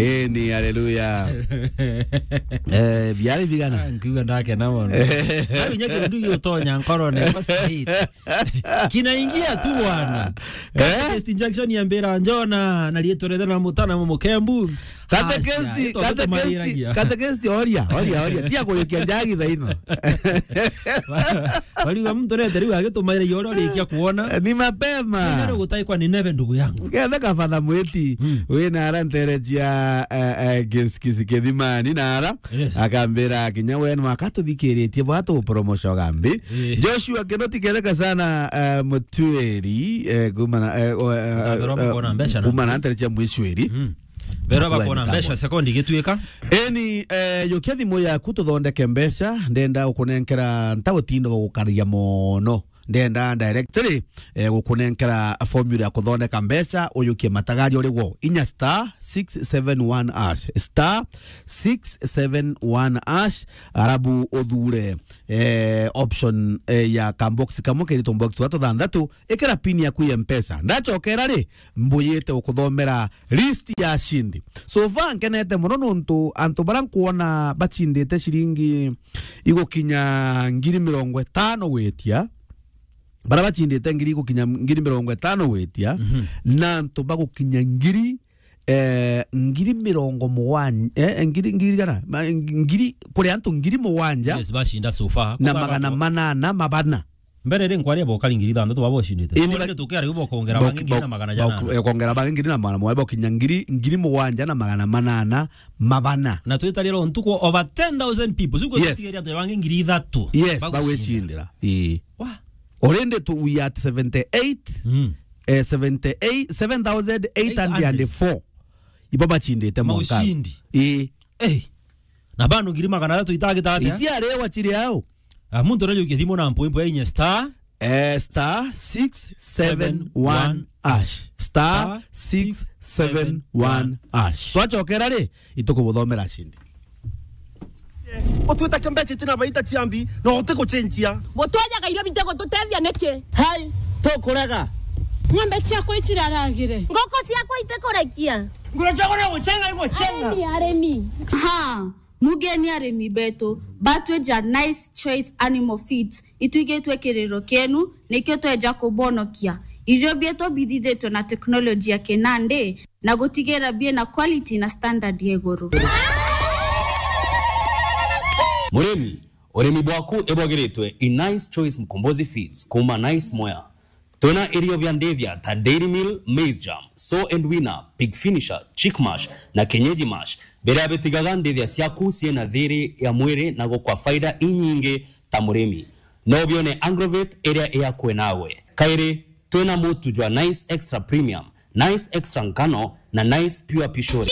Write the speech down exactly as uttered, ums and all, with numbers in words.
Eni, haleluya. Eh, biari bigana? Ah, nkiuga ndakena mono. Au inya kindu giutonya nkorone kwa straight. Kinaingia tu bwana. Eh? Catechist Jackson yambira, "Njona, na riitwa riitwa na mutana mukembu." Catechist, Asia, ito catechist, tumariragia. Catechist, oria, oria, oria. Tia kuyukia njagi thaino. Bariuga muntu rete riu agitumaira iyo uria urikia kuona. Ni mapema. Ndio gutai kwa Nineve, ndugu yangu. Ngethe kabatha mwiti, mm, wina ara nterecia, eh, eh, Gis-, Gis-, Kithimani na ara. Yes. Akambira, "Kinya we ni wakatuthikiritie bwa tu promotion gambi." Eh. Joshua Kinoti, ketheka sana, eh, Mutueri, eh, kumana, eh, o, eh, Akambira eh, bakona mbeca na kuma na nterecia Mwicweri. Mm. Berwa bakona mbeca sekondi igituika. Eni, eh, yukia thimu yaku tuthondeke mbeca, ndenda gukunenkera ntagutinda gugukaria mono. Ndenda directly, eh, gukunenkera formula ya kuthondeka mbeca, uyukie matagari uri gwo. Inya star six seven one hash. Star six seven one hash, arabu uthure, eh, option, eh, ya kambox kamwe keritwo mbox wa tuthanthatu, ikira pin yaku ya Mpesa. Ndachokera ri, mbuyite ukuthomera list ya ashindi. So far nkenete mono nontu antu bara nkuona bachindite ciringi igukinya ngiri mirongo itano gwitia. Bara bachindite ngiri igukinya ngiri mirongo itano gwitia, mhm, na antu bagukinya ngiri, eh, ngiri mirongo mugwanja, eh, ngiri, ngiri gana? Ma-, ngiri, kuri antu ngiri mugwanja, yes, bacinda so far. Na magana manana mabana. Mbere ri nkwaria bokari ngiri ithanthatu baba ucindite. Indi ba-, tukera riu bokongera bo-, bangi ngiri bo-, na magana bo-, janana. Eh, kongera bangi ngiri na magana mugwanja, bokinya ngiri, ngiri mugwanja na magana manana mabana. Na twitarira ntuku over ten thousand people. Siku, yes, tutigeria antu bangi ngiri ithatu. Yes, bagwicindira. Ii. Wa. Already tu, we at seventy-eight, mm, eh, seventy-eight, seven thousand eight hundred and four. Ibo bachindite mwaka. Maushindi. Ii. Eh. Na bando ngiri magana athatu itagita atia? Itiarewa chiri ao. Ah, muntu arajukia thimu na mpu, mpu ya inya star. Eh, star six seven one hash. Star six seven one hash. Twachokera ri, itukubuthomera ashindi. Utwita kimbeca itina baita ciambi, na utikucenjia. Gutwenyaga irio bitigututethia niki? Hai, tukurega. Ng'ombe ciakwa iciraragire. Ngoko ciakwa itikurekia. Nguru ciakwa no gucenga igucenga. Arimi, arimi. Ha, mugeni arimi betu, batwija Nice Choice Animal Feeds, itwigitwe kiriro kienu, nikio tweja kubonokia. Irio bietu bithithitwe na teknoloji ya kinandi, na gutigira biena quality na standard ya iguru. Murimi, urimi bwaku ibwagiritwe i Nice Choice Mkombozi Feeds kuma Nice Mwea. Twina irio bia ndithia ta Dairy Meal, Maize Germ, Sow and Weaner, Pig Finisher, Chick Mash na Kienyeji Mash, biria bitigaga ndithia ciaku ciina thiri ya mwiri na gukwa faida inyingi ta murimi. No bione Agrovet iria iakwe nawe. Kairi, twina mutu jwa Nice Extra Premium, Nice Extra Nkano na Nice Pure Pishori.